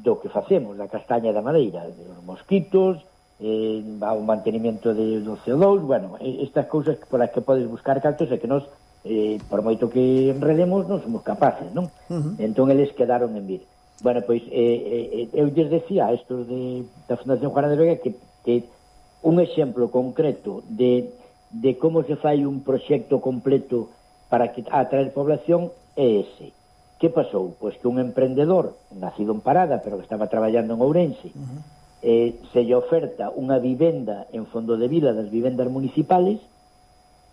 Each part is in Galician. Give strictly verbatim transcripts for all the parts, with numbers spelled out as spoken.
do que facemos, da castaña e da madeira, dos mosquitos, eh, o mantenimento de, do C O dous, bueno, estas cousas por as que podes buscar cartos e que nos, eh, por moito que enredemos, non somos capaces, non? Uh-huh. Entón, eles quedaron en vir. Bueno, pois, eh, eh, eu lles decía a estos de, da Fundación Juana de Vega que, que un exemplo concreto de, de como se fai un proxecto completo para que atraer población é ese. Que pasou? Pois que un emprendedor, nacido en Parada, pero que estaba traballando en Ourense, uh-huh. eh, se lle oferta unha vivenda en Fondo de Vila das vivendas municipales,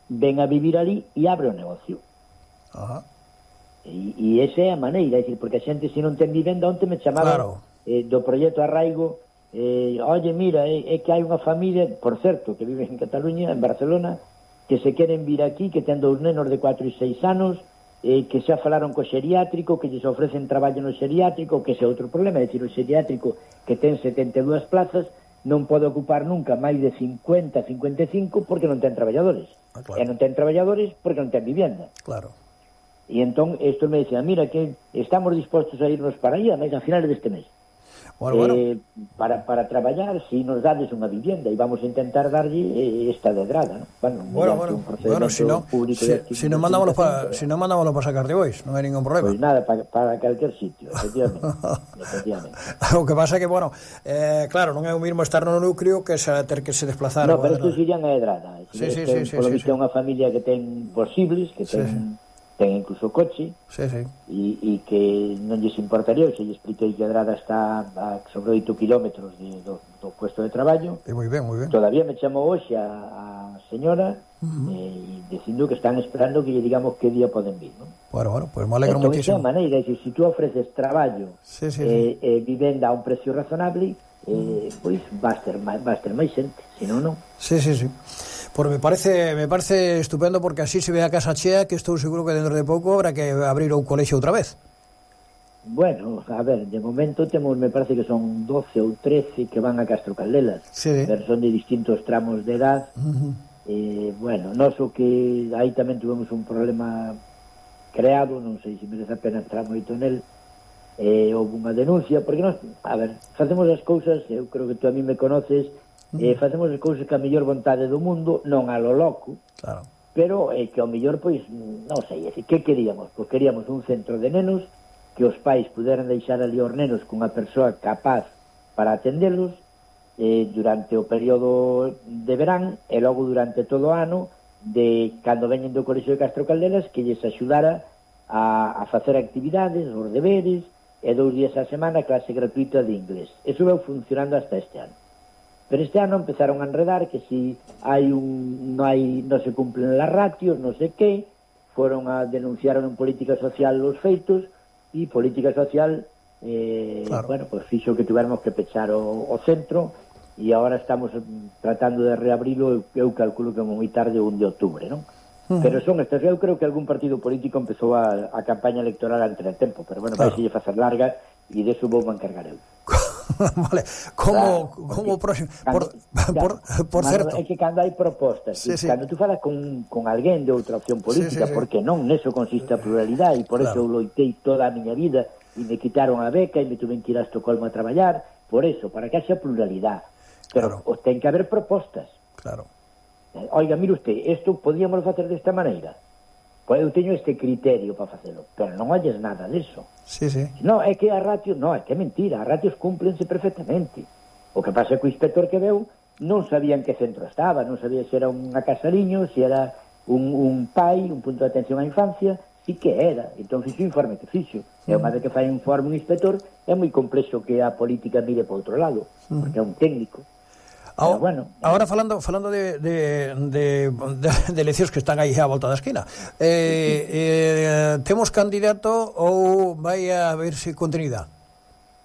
ven a vivir ali e abre o negocio. Uh-huh. E, e esa é a maneira, é dicir, porque a xente se non ten vivenda, onte me chamaban claro. eh, do proxecto Arraigo, eh, oye, mira, é, é que hai unha familia, por certo, que vive en Cataluña, en Barcelona, que se queren vir aquí, que ten dous nenos de cuatro e seis anos, eh, que xa falaron co xeriátrico, que lles ofrecen traballo no xeriátrico, que ese é outro problema, é dicir, o xeriátrico que ten setenta e dúas plazas non pode ocupar nunca máis de cincuenta, cincuenta e cinco porque non ten traballadores. Ah, claro. E non ten traballadores porque non ten vivienda. Claro. E entón, isto me decía, mira, que estamos dispostos a irnos para aí a finales deste mes. Bueno, eh, bueno. para, para traballar, si nos dades unha vivienda e vamos a intentar darlle eh, esta dedrada, ¿no? Bueno, bueno, bueno, un procedimento bueno, si no, público si, de si non mandámoslo para si no mandámoslo para sacar de bois, non hai ningún problema. Pois pues nada, para, para calquer sitio, efectivamente. efectivamente. O que pasa é que, bueno, eh, claro, non é o mismo estar no núcleo que se, ter que se desplazar. No, pero bueno, estos irían a dedrada. Sí, sí, sí, sí, por lo sí, visto é sí. unha familia que ten posibles, que ten... Sí, sí. ten incluso coche, sí, sí. E, e que non lles importaría, se lle expliquei que Adrada está a sobre oito kilómetros de, do, do puesto de traballo. E moi ben, moi ben. Todavía me chamou hoxe a, a señora uh-huh. eh, dicindo que están esperando que lle digamos que día poden vir, non? Bueno, bueno, pues me alegro entón, muchísimo. Entón, esa maneira, se si tú ofreces traballo sí, sí, eh, sí. eh, vivenda a un precio razonable, eh, pois vas ter máis, vas ter máis xente, senón non. Sí, sí, sí. Pues me parece me parece estupendo porque así se ve a casa chea, que estou seguro que dentro de pouco habrá que abrir un colexio outra vez. Bueno, a ver, de momento temos, me parece que son doce ou trece que van a Castro Caldelas, sí. pero son de distintos tramos de edad. Uh-huh. eh, bueno, nós o que aí tamén tuvemos un problema creado, non sei se merece a pena entrar moito nel, eh, houve unha denuncia, porque nós, a ver, facemos as cousas, eu creo que tú a mí me conoces, eh, facemos as cousas que a mellor vontade do mundo, non a lo loco, claro. pero eh, que ao mellor, pois, non sei, é dicir, que queríamos? Pois queríamos un centro de nenos, que os pais puderan deixar ali os nenos cunha persoa capaz para atendelos eh, durante o período de verán e logo durante todo o ano, de cando veñen do Colexio de Castro Caldelas, que lles axudara a, a facer actividades, os deberes, e dous días a semana clase gratuita de inglés. Eso veu funcionando hasta este ano. Pero este ano empezaron a enredar que si hai un no hai non se cumplen las ratios, non sei que, foron a denunciaron en política social os feitos e política social eh, claro. bueno, pues fixo que tuviéramos que pechar o, o centro e agora estamos tratando de reabrilo, eu, eu calculo que moi tarde o un de outubro, non? Uh-huh. Pero son estas, eu creo que algún partido político empezou a, a campaña electoral antes de tempo, pero bueno, claro. vai se lle facer larga e deso vou me encargar eu. Vale, como claro, como próximo cando, por, por, por certo, é que cando hai propostas, sí, sí. cando tú falas con, con alguén de outra opción política, sí, sí, sí. porque non, neso consiste a pluralidade e por claro. eso eu loitei toda a miña vida e me quitaron a beca e me tuven que ir a Estocolmo a traballar, por eso, para que haxa pluralidade, pero claro. ten que haber propostas. Claro. Oiga, mire usted, isto podíamos facer desta maneira. Pois eu teño este criterio para facelo, pero non olles nada disso. Sí, sí. No, é que a ratios, no, é que é mentira, as ratios cúmplense perfectamente. O que pasa é que o inspector que veu non sabía en que centro estaba, non sabía se era unha casariño, se era un, un pai, un punto de atención á infancia, sí que era. Entón fixo o informe que fixo. Mm. E unha vez que fai un informe un inspector, é moi complexo que a política mire para outro lado, mm. porque é un técnico. Ahora, bueno, ahora falando falando de, de, de, de, de eleccións que están aí á volta da esquina, eh, eh, temos candidato ou vai a verse continuidade?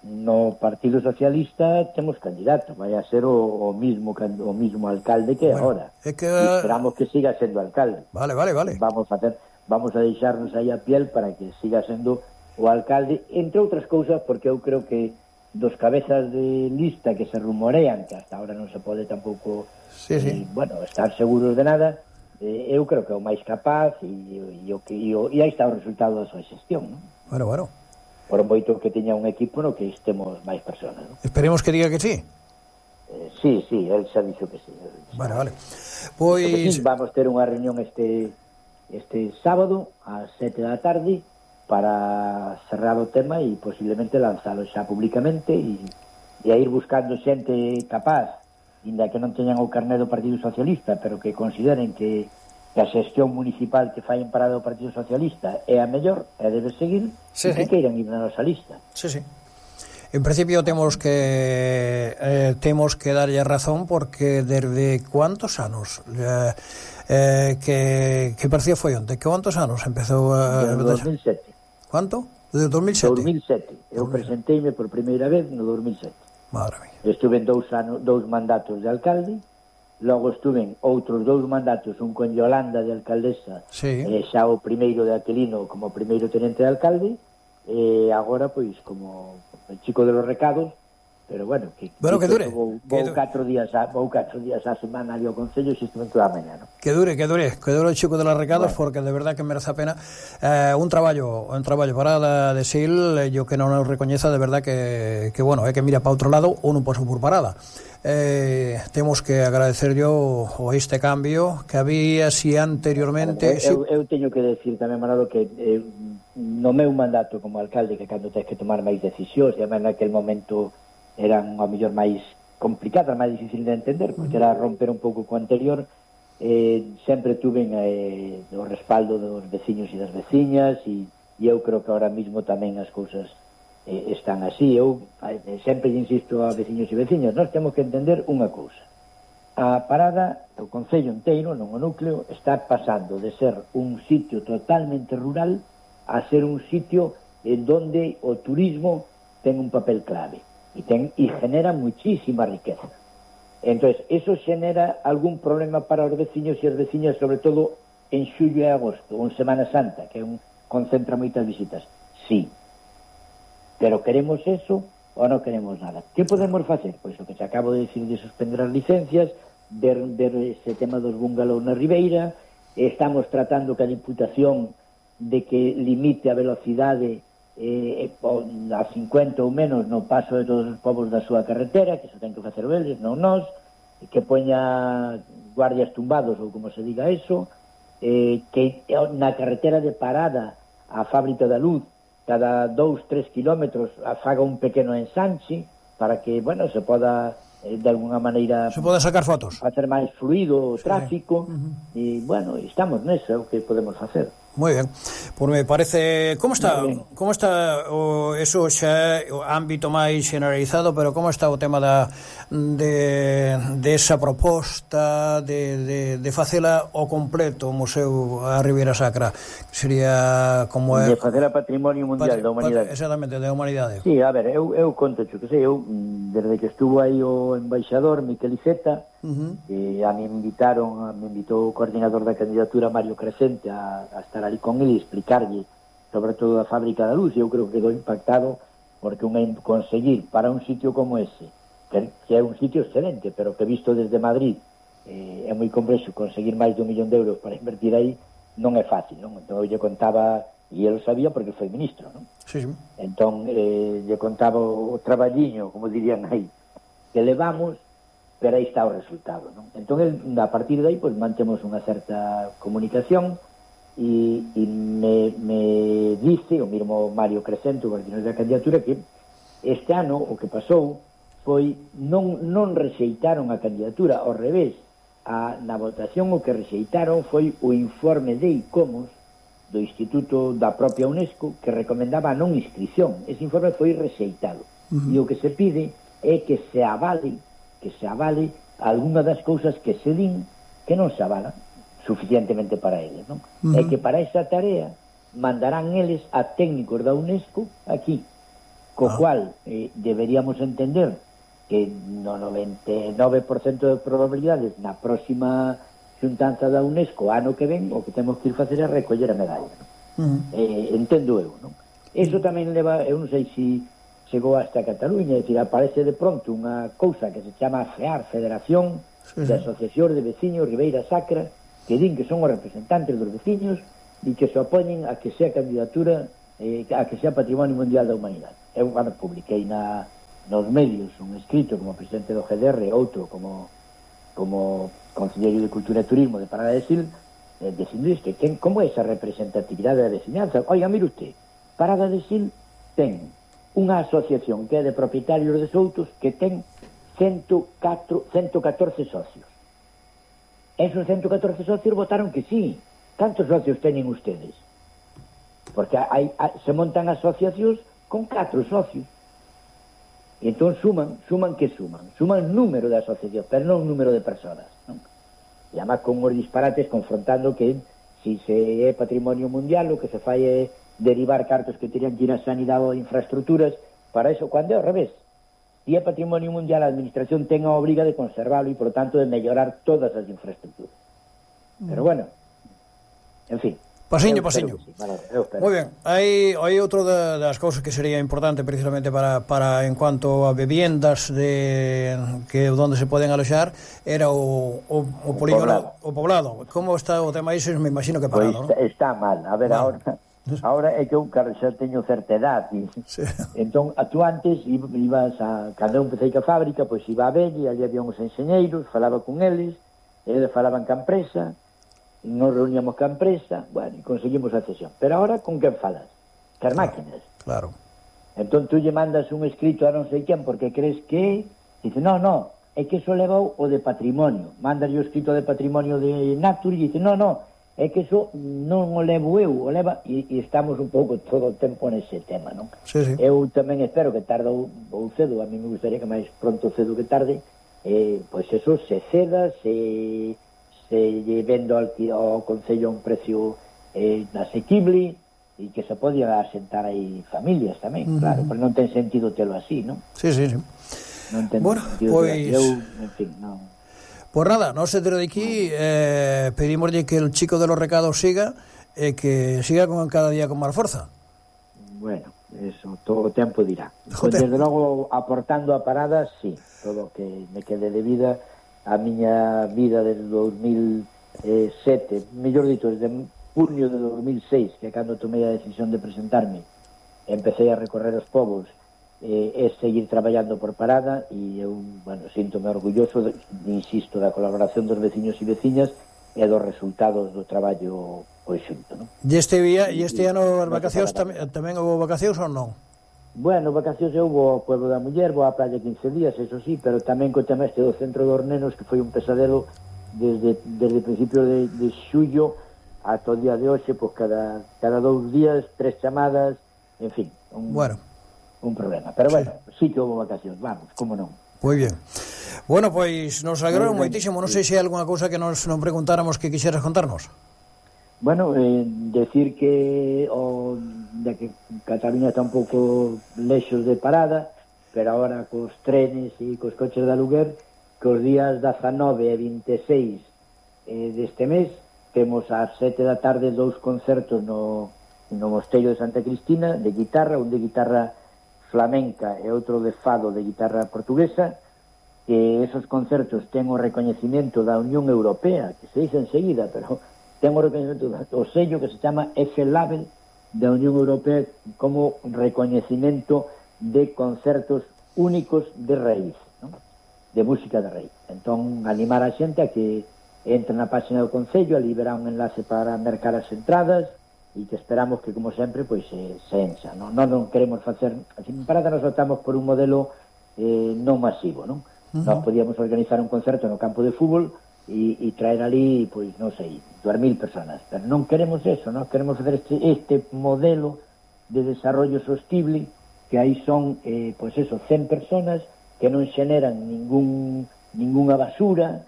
No Partido Socialista temos candidato, vai a ser o, o mismo o mismo alcalde que bueno, agora. É que... E esperamos que siga sendo alcalde. Vale, vale, vale. Vamos a hacer, vamos a deixarnos aí a piel para que siga sendo o alcalde, entre outras cousas, porque eu creo que dos cabezas de lista que se rumorean, que hasta ahora non se pode tampouco sí, sí. Eh, bueno, estar seguros de nada, eh, eu creo que é o máis capaz e, e, o que, e, o, e aí está o resultado da súa xestión, non? Bueno, bueno. por moito que teña un equipo no que estemos máis personas, ¿no? Esperemos que diga que sí. Eh, sí, sí, él xa dixo que sí. Vale, vale. Pois... Sí, vamos ter unha reunión este este sábado ás sete da tarde para cerrar o tema e posiblemente lanzalo xa públicamente e, e a ir buscando xente capaz, inda que non teñan o carné do Partido Socialista, pero que consideren que que a xestión municipal que fai en parada do Partido Socialista é a mellor, e debe seguir, sí, e que sí. queiran ir na nosa lista. Sí, sí. En principio temos que eh, temos que darlle razón porque desde cuántos anos eh, eh, que, que partido foi onte? Que cuántos anos empezou a... Desde dos mil sete. Cuánto? Desde dos mil sete? dos mil sete. Eu presenteime por primeira vez no dos mil sete. Madre mía. Estuve en dous, anos, dous mandatos de alcalde, logo estuve en outros dous mandatos, un con Yolanda de alcaldesa, sí. e xa o primeiro de Aquilino como primeiro tenente de alcalde, e agora, pois, como el chico de los recados, pero bueno, que, bueno, que, que dure. Vou, vou, que catro días a, vou catro días a semana ali ao Concello e xesto toda a mañá, ¿no? Que dure, que dure, que dure o chico de los recados, bueno. Porque de verdad que merece a pena eh, un traballo, un traballo parada de Sil, eh, yo que non nos recoñeza de verdad que, que bueno, é que mira para outro lado ou non poso por parada. Eh, temos que agradecer yo o este cambio que había si anteriormente... Bueno, eu, si... eu teño que decir tamén, Manolo, que eh, no meu mandato como alcalde, que cando tens que tomar máis decisións, e en aquel momento eran ao mellor máis complicadas, máis difícil de entender, porque era romper un pouco co anterior, eh, sempre tuve eh, o respaldo dos veciños e das veciñas, e, e eu creo que ahora mismo tamén as cousas eh, están así. Eu eh, sempre insisto a veciños e veciñas, nós temos que entender unha cousa. A parada, o Concello inteiro, non o núcleo, está pasando de ser un sitio totalmente rural a ser un sitio en donde o turismo ten un papel clave e, ten, e genera muchísima riqueza. Entonces, eso genera algún problema para os veciños e as veciñas, sobre todo en xullo e agosto, ou en Semana Santa, que é un, concentra moitas visitas. Sí, pero queremos eso ou non queremos nada. Que podemos facer? Pois o que te acabo de decir de suspender as licencias, ver, ver ese tema dos bungalows na Ribeira, estamos tratando que a Diputación de que limite a velocidade eh, a cincuenta ou menos no paso de todos os povos da súa carretera, que se ten que facer eles, non nós, que poña guardias tumbados, ou como se diga eso, eh, que na carretera de parada a Fábrica da Luz, cada dous, tres kilómetros faga un pequeno ensanche para que, bueno, se poda eh, de alguna maneira se poda sacar fotos, facer máis fluido o tráfico, sí. Uh-huh. E, bueno, estamos neso, é o que podemos facer. Moi ben. Por me parece, como está, como está o eso xa o ámbito máis generalizado, pero como está o tema da de de esa proposta de de de facela ao completo o Museo a Ribeira Sacra, que sería como é de facela Patrimonio Mundial da Humanidade. Exactamente, da Humanidade. Sí, a ver, eu eu conto que sei, eu desde que estuvo aí o embaixador Miquel Iceta, uh-huh. e a me invitaron, a me invitou o coordinador da candidatura Mario Crescente a, a estar ali con ele e explicarlle sobre todo a Fábrica da Luz, e eu creo que quedou impactado porque un conseguir para un sitio como ese, que, que é un sitio excelente, pero que visto desde Madrid eh, é moi complexo conseguir máis de un millón de euros para invertir aí, non é fácil, non? Entón eu lle contaba, e ele sabía porque foi ministro, non? Sí, sí. Entón eh, lle contaba o traballiño, como dirían aí, que levamos, pero aí está o resultado, non? Entón, el, a partir de aí, pues, mantemos unha certa comunicación e, e me, me dice o mismo Mario Crescente, o coordinador da candidatura, que este ano o que pasou foi non, non rexeitaron a candidatura, ao revés, a, na votación o que rexeitaron foi o informe de ICOMOS do Instituto da propia UNESCO que recomendaba a non inscripción. Ese informe foi rexeitado. Uh-huh. E o que se pide é que se avale que se avale alguna das cousas que se din que non se avalan suficientemente para eles, non? Uh-huh. E que para esa tarea mandarán eles a técnicos da UNESCO aquí, co uh-huh. cual eh, deberíamos entender que no noventa e nove por cento de probabilidades na próxima xuntanza da UNESCO ano que ven o que temos que ir facer é recoller a medalla, non? Uh-huh. Eh, entendo eu, non? Eso tamén leva, eu non sei se chegou hasta Cataluña, é dicir, aparece de pronto unha cousa que se chama FEAR, Federación sí, de Asociacións de Veciños Ribeira Sacra, que din que son os representantes dos veciños e que se opoñen a que sea candidatura eh, a que sea Patrimonio Mundial da Humanidade. Eu, bueno, publiquei na, nos medios un escrito como presidente do G D R, outro como como conselleiro de Cultura e Turismo de Parada de Sil, eh, dicindo isto, ten, como é esa representatividade da veciñanza. Oiga, mire usted, Parada de Sil ten unha asociación que é de propietarios de Soutos que ten ciento catorce socios. Esos ciento catorce socios votaron que sí. Cantos socios teñen ustedes? Porque hai, hai, se montan asociacións con catro socios. E entón suman, suman que suman? Suman número de asociacións, pero non número de persoas, non? E además con os disparates confrontando que si se é patrimonio mundial o que se fai é derivar cartos que terían que ir a sanidade ou infraestructuras para eso, cando é ao revés. Si é patrimonio mundial, a administración ten a obriga de conservarlo e, por tanto, de mellorar todas as infraestructuras. Pero bueno, en fin. Pasiño, pasiño. Sí. Vale, moi ben. Hai, hai outro da, das cousas que sería importante precisamente para, para en cuanto a viviendas de que onde se poden aloxar era o, o, o polígono, o poblado. Como está o tema iso? Me imagino que parado, pues, ¿no? Está mal. A ver, bueno. ahora ahora é que eu xa teño certa edad e, sí. Entón, tú antes ibas a, cando eu empecé a fábrica, pois iba a Belle, ali había uns enxeñeiros, falaba con eles, eles falaban ca empresa, nos reuníamos ca empresa, bueno, e conseguimos a cesión. Pero ahora, con quen falas? Cas máquinas. Claro. Entón, tú lle mandas un escrito a non sei quen porque crees que... Dice, no, no, é que iso levou o de patrimonio. Mandas o escrito de patrimonio de Nature e dice, no, no, é que iso non o levo eu, o leva... E, e estamos un pouco todo o tempo nese tema, non? Sí, sí. Eu tamén espero que tarde ou, ou cedo, a mí me gustaría que máis pronto cedo que tarde, eh, pois eso se ceda, se... se vendo ao, ao Concello a un precio eh, asequible e que se podía asentar aí familias tamén, uh-huh. Claro, pero non ten sentido telo así, non? Sí, sí, sí. Non ten bueno, sentido pois... Eu, en fin, non... Pues nada, non se tiro de aquí, eh, pedimoslle que el chico de los recados siga e eh, que siga con cada día con máis forza. Bueno, eso, todo o tempo dirá. Pues, desde logo, aportando a paradas, sí, todo o que me quede de vida... a miña vida desde dos mil sete, mellor dito, desde junio de dos mil seis, que cando tomei a decisión de presentarme, empecé a recorrer os povos, eh, é seguir traballando por Parada, e eu, bueno, síntome orgulloso, de, insisto, da colaboración dos veciños e veciñas e dos resultados do traballo conxunto, non? E este día, e este ano as vacacións tamén, tamén houve vacacións ou non? Bueno, vacacións eu vou ao Pueblo da Muller, vou á praia quince días, eso sí, pero tamén co tema este do Centro dos Nenos, que foi un pesadelo desde, desde principio de, de xullo ata o día de hoxe, pois cada, cada dous días, tres chamadas, en fin, un, bueno. un problema. Pero bueno, sí, sí que houve vacacións, vamos, como non. Moi bien. Bueno, pois nos alegraron moitísimo, non sei se hai alguna cousa que nos non preguntáramos que quixeras contarnos. Bueno, eh, decir que o, de que Cataluña está un pouco lexos de Parada, pero agora cos trenes e cos coches de aluguer, que os días dezanove e vinte e seis eh, deste mes temos ás sete da tarde dous concertos no, no Mosteiro de Santa Cristina de guitarra, un de guitarra flamenca e outro de fado de guitarra portuguesa, que esos concertos ten o recoñecimento da Unión Europea, que se dice enseguida, pero ten o recoñecimento do sello que se chama F-Label da Unión Europea como recoñecimento de concertos únicos de raíz, ¿no? De música de raíz. Entón, animar a xente a que entre na página do Concello, ali verá un enlace para mercar as entradas e que esperamos que, como sempre, pois se, se enxa, non? Non, non queremos facer... En Parada nos optamos por un modelo eh, non masivo, non? Uh-huh. Nós podíamos organizar un concerto no campo de fútbol e, e traer ali, pois, non sei, dúas mil personas. Pero non queremos eso, non queremos fazer este, este modelo de desarrollo sostible, que aí son, eh, pois eso, cen personas que non xeneran ningún, ninguna basura,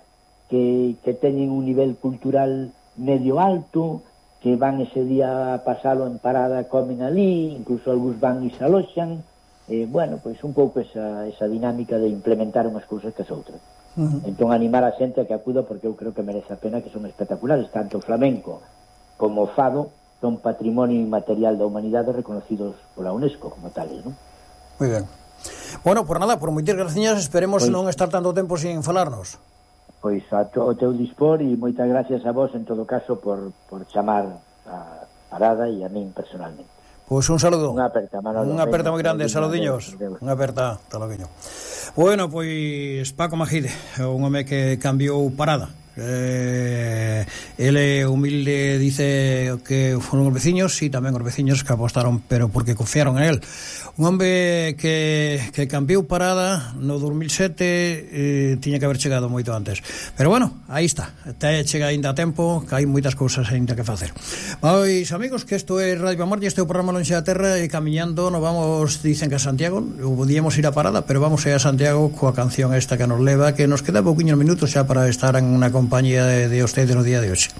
que, que teñen un nivel cultural medio alto, que van ese día a pasalo en Parada, comen ali, incluso algúns van e se aloxan, eh, bueno, pois un pouco esa, esa dinámica de implementar unhas cousas que as outras. Uh-huh. Entón, animar a xente a que acuda, porque eu creo que merece a pena, que son espectaculares, tanto o flamenco como o fado son patrimonio inmaterial da humanidade reconocidos pola UNESCO como tales, non? Moi ben. Bueno, por nada, por moitas graciñas, esperemos pois, non estar tanto tempo sin falarnos. Pois a to, o teu dispor, e moitas gracias a vos en todo caso por, por chamar a Parada e a min personalmente. Pois un saludo. Unha aperta, Manolo. Unha aperta moi grande, saludiños. Unha aperta, hasta logo. Bueno, pois Paco Majide, un home que cambiou parada. Eh, ele humilde dice que foron os veciños e tamén os veciños que apostaron, pero porque confiaron en él. Un home que, que cambiou parada no dos mil sete, eh, tiña que haber chegado moito antes, pero bueno, aí está, te chega ainda a tempo, que hai moitas cousas ainda que facer. Pois amigos, que isto é Radio Pamorlla, este é o programa Lonxe da Terra, e camiñando nos vamos, dicen que a Santiago, podíamos ir a parada, pero vamos a ir a Santiago coa canción esta que nos leva, que nos queda pouquiños minutos xa para estar en unha compañía de, de ustedes no día de hoxe.